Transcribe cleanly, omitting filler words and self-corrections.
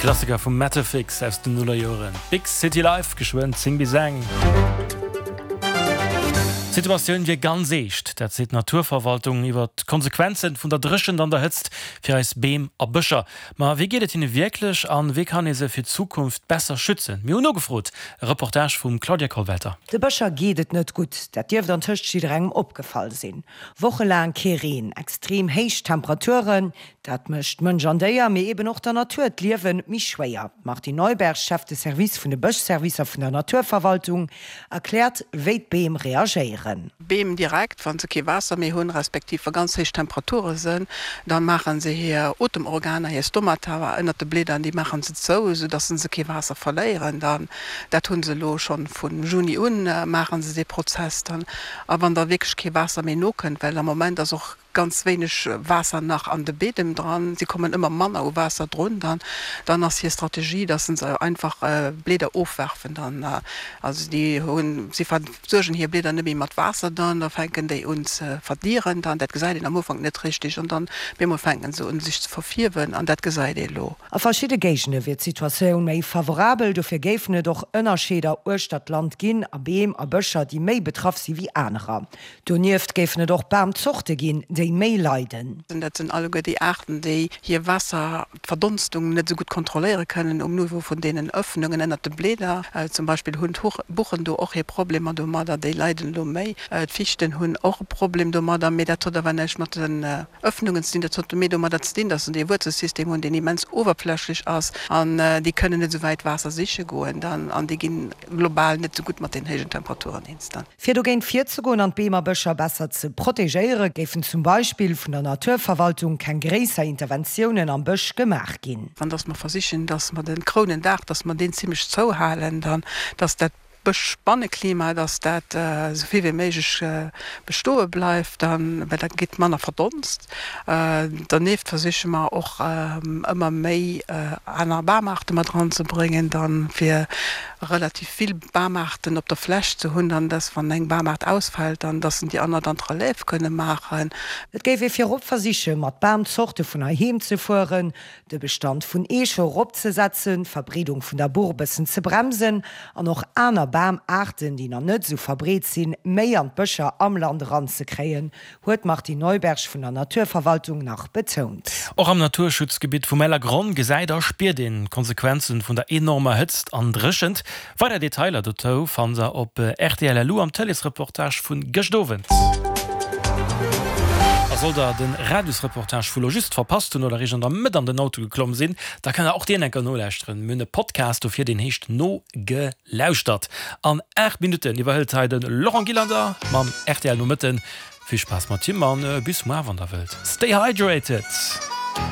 Klassiker vum Mattafix aus den Nullerjoren, Big City Life, geschwënn 10 bis eng. D'Situatioun wier ganz eescht, dat seet d'Naturverwaltung iwwer d'Konsequenzen vun der Dréchent an der Hëtzt fir eis Beem a Bëscher. Ma wéi geet et hinne wierklech an wéi kann ee se fir d'Zukunft besser schützen? Mir hunn nogefrot. E Reportage vum Claudia Kollwelter. De Bëscher geet et net gutt, dat dierft antëscht jidderengem opgefall sinn. Wochelaang kee Reen, extrem héich Temperaturen, Dat mécht Mënsch an Déier, mee eben och der Natur d'Liewe méi schwéier. D'Martine Neuberg, Chef de Service vun de Bëschservicer vun der Naturverwaltung, erkläert, wéi d'Beem reagéieren. D'Beem direkt, wa se kee Waasser méi hunn, respektiv wa ganz héich Temperature sënn, da maache se hir Otemorganer, hir Stomata ënnert de Blieder, déi maache se zou, esou dass se kee Waasser verléieren dann. Dat hu se elo schonn vu Juni un, maache se dee Prozess dann. A wann da wierklech kee Waasser méi nokënnt, well am Moment ass och ganz wéineg Waasser nach an de Biedem dran, si kommen ëmmer manner u Waasser drun, dann dann ass hir Strategie, dass se einfach Blieder ofwerfen dann. Also déi hunn, si versuergen hir Blieder net méi mat Waasser dann, da fänken déi un ze verdieren dann, dat gesäit een am Ufank net richtig an dann bemol fänken se un sech ze verfierwen an dat gesäit ee lo. A verschidde Géigende wier d'Situatioun méi favorabel, dofir géifen et och Ënnerscheeder uechter d'Land ginn a Beem a Bëscher, déi méi betraff si wéi anerer. Donieft géifen et och Bamzorte ginn, déi méi leiden. Dat sinn alleguer déi Aarten, déi hir Waasserverdonstung net esou gutt kontrolléiere kënnen um Niveau vun deenen Ëffnungen ënnert de Blieder. Zum Beispill hunn d'Buchen do och hir Problemer domadder, déi leiden elo méi. D'Fichten hunn och e Problem domadder, mee dat huet awer näischt mat den Ëffnungen ze dinn. Dat huet méi domadder ze dinn, datt se dee Wuerzelsystem hunn, deen immens owerflächlech ass an déi kënnen net esou wäit Waasser siche goen dann an déi ginn global net esou gutt mat den héijen Temperaturen eens dann. Fir dogéint virzegoen an d'Beem a Bëscher besser ze protegéiere géifen zum Beispill vun der Naturverwaltung keng gréisser Interventiounen am Bësch gemaach ginn. An dass mer versichen, dass mer de Krounendaach, dass mer deen zimlech zouhalen dann, dass dat Bëschbanneklima, dass dat esou vill wéi méiglech bestoe bleift dann, well da geet manner verdonst. Dernieft versiche mer och ëmmer méi aner Bamaarte mat eranzebréngen dann, fir relativ vill Bamaarten op der Fläch ze hunn, dann dass wann eng Bamaart ausfält, dann dass en déi aner dann d'Relève kënne maachen. Et géif ee virop versiche mat Bamzorte vun heiheem ze fueren, de Bestand vun Eeche eropzesetzen, d'Verbreedung vun der Buch bëssen ze bremsen an och aner Bamaarten, déi nach net esou verbreet sinn, méi an d'Bëscher am Land eranzekréien, huet d'Martine Neuberg vun der Naturverwaltung nach betount. Och am Naturschutzgebitt vum Ellergronn gesäit a spiert een d'Konsequenzen vun der enormer Hëtzt an Dréchent. Weider Detailer dozou fannt der op rtl.lu am Tëleesreportage vun gëscht Owend. A sollt der den Radiosreportage vu lo just verpasst hunn oder eréischt an der Mëtt an den Auto geklomm sinn, da kënnt der och deen enker nolauschteren. Mir hunn e Podcast dofir, deen heescht Nogelauschtert. Lauschtert! An 8 Minutten iwwerhëlt hei de Laurent Gillander mam rtl Nomëtten. Vill Spaass mat him an bis muar wann der wëllt. Stay hydrated!